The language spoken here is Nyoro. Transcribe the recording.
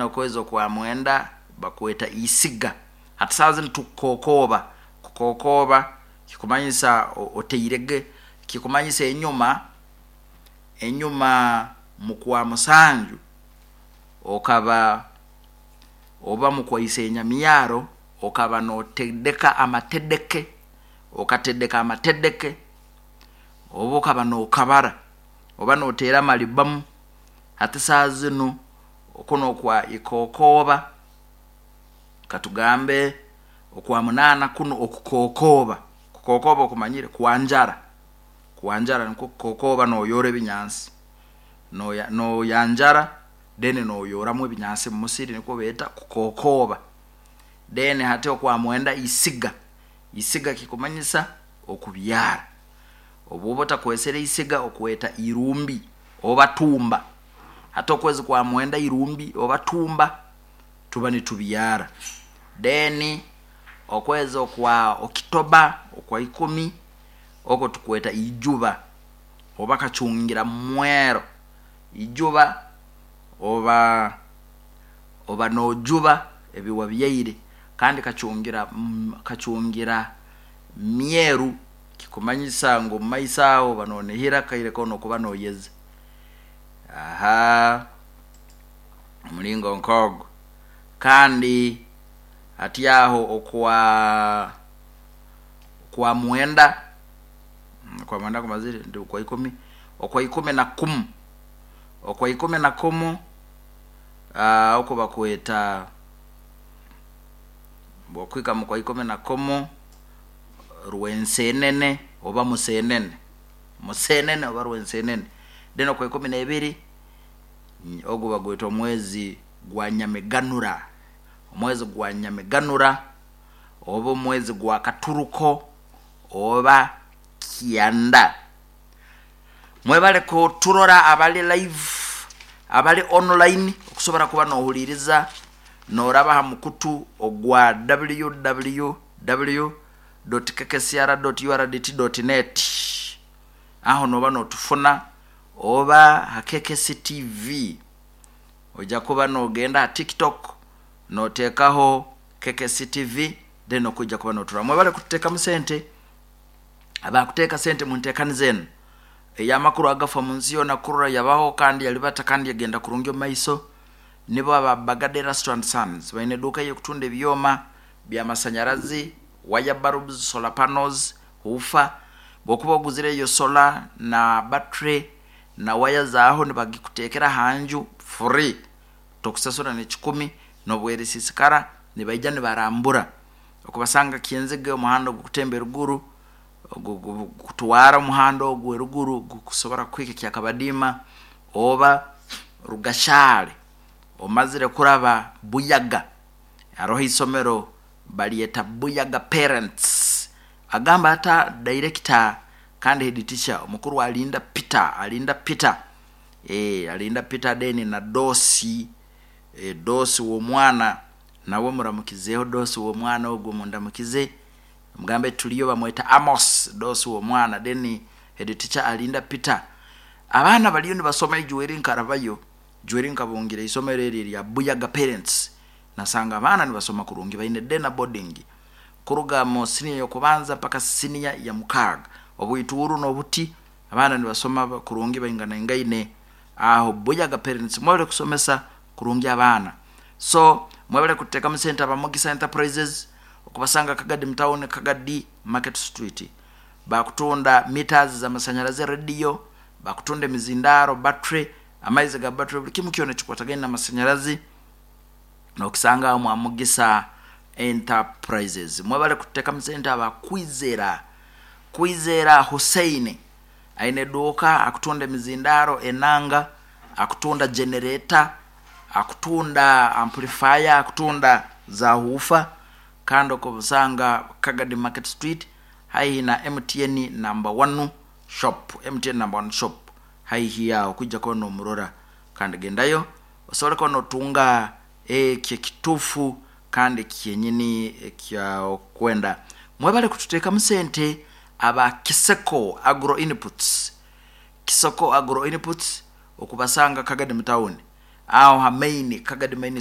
Okwezi okwa mwenda bakweta isiga. Hati saaha zinu tukukokooba. Kukokooba kikumanyisa oteirege, kikumanyisa enyuma, enyuma mukwa musanju okaba oba mukwaise enyamyaro okaba notedeka amatedeke, okatedeka amatedeke, oba okaba nokabara, oba noteera amalibamu. Hati saaha zinu kunu okwa ikokooba, katugambe okwa munaana kunu okukokooba, kukokooba okumanyire? Kwanjara, kwanjara nikwo kukokooba noyoora ebinyansi, noyanjara then noyooramu ebinyansi mumusiri nikwo beeta kukokooba. Then hati okwa mwenda isiga, isiga kikumanyisa okubyara, obu oba otakwesere isiga okweta irumbi oba tumba. Hati okwezi kwa mwenda irumbi oba tumba tuba nitubyara. Then okwezi okwa okitoba okwa ikumi okwo tukweta ijuba oba kacungira mwero, ijuba oba oba nojuba ebi wabyaire kandi kacungira kacungira myeru kikumanyisa ngu mumaiso aho oba nonihira akaire koona okuba noyeza. Ahaa omuringo nk'ogwo. Kandi hati aho okwa okwa mwenda, okwa mwenda kumazire ndi okwa ikumi, okwa ikumi na kumu, okwa ikumi na kumu oku bakweta bwokuhika mukwa ikumi na kumu rwensenene oba musenene, musenene oba rwensenene. Then okwa ikumi nebiri ogu bagweta omwezi gwa nyamiganura, omwezi gwa nyamiganura oba omwezi gwa katuruko oba kyanda. Mwebale kuturora abali live, abali online okusobora kuba nohuliriza noraba ha mukutu ogwa www dot kkcr dot urdt dot net aho noba notufuna oba ha KKC TV oija kuba nogenda ha tiktok notekaho KKC TV then okwija kuba noturora. Mwebale kututekamu sente, abakuteka sente muntekaniza enu eyamakuru agafa munsi yoona kurora yabaho kandi yalibata kandi yagenda kurungi omumaiso nibo aba Bagade Erasto and Sons. Baine eduuka eyekutunda ebyoma byamasanyarazi, wire bulbs, solar panels, woofer. Bwokuba oguzire eyo solar na battery na waya zaaho nibagikutekera ahanju free, tokusasura nekikumi nobwerisisikara nibaija nibarambura. Okubasanga Kyenzige omuhanda ogukutemba eruguru gukutwara omuhanda ogu eruguru gukusobora kuhika Kyakabadiima oba Rugashare omazire kuraba Buyaga haroho isomero balyeta Buyaga Parents. Agamba ata director kandi head teacher omukuru Alinda Peter, Alinda Peter, eeh Alinda Peter then na Dosi, Dosi w'omwana nawe muramukizeho Dosi w'omwana ogwo mundamukize mugambe tuliyo bamweta Amos Dosi w'omwana then head teacher Alinda Peter. Abaana baliyo nibasoma ijweri nkarabayo, ijweri nkabungira isomero eri erya Buyaga Parents nasanga abaana nibasoma kurungi baine day na boarding kuruga mu siniya y'okubanza mpaka siniya ya mukaaga. Obwituuru n'obuti abaana nibasoma kurungi bainganaingaine aho Buyaga Parents mwebale kusomesa kurungi abaana. So mwebale kututekamu sente aba Mugisa Enterprises okubasanga Kagadi mu town Kagadi Market Street. Bakutunda meters z'amasanyarazi, radio, bakutunda emizindaaro, battery, amaizi ga battery buli kimu kyona ekikwatagaine n'amasanyarazi nokisanga aho mwa Mugisa Enterprises. Mwebale kututekamu sente aba Kwizera, Kwizera Hussein aine eduuka akutunda emizindaaro, enanga, akutunda generator, akutunda amplifier, akutunda za huufa kandi okubisanga Kagadi Market Street haihi na MTN number one shop, MTN number one shop haihi aho kwija kuba nomurora kandi gendayo osobole kuba notunga ekyo ekituufu kandi kyenyini ekyokwenda. Mwebale kututekamu sente aba Kiseko Agro Inputs, Kiseko Agro Inputs okubasanga Kagadi mu town. Aho ha main, Kagadi Main.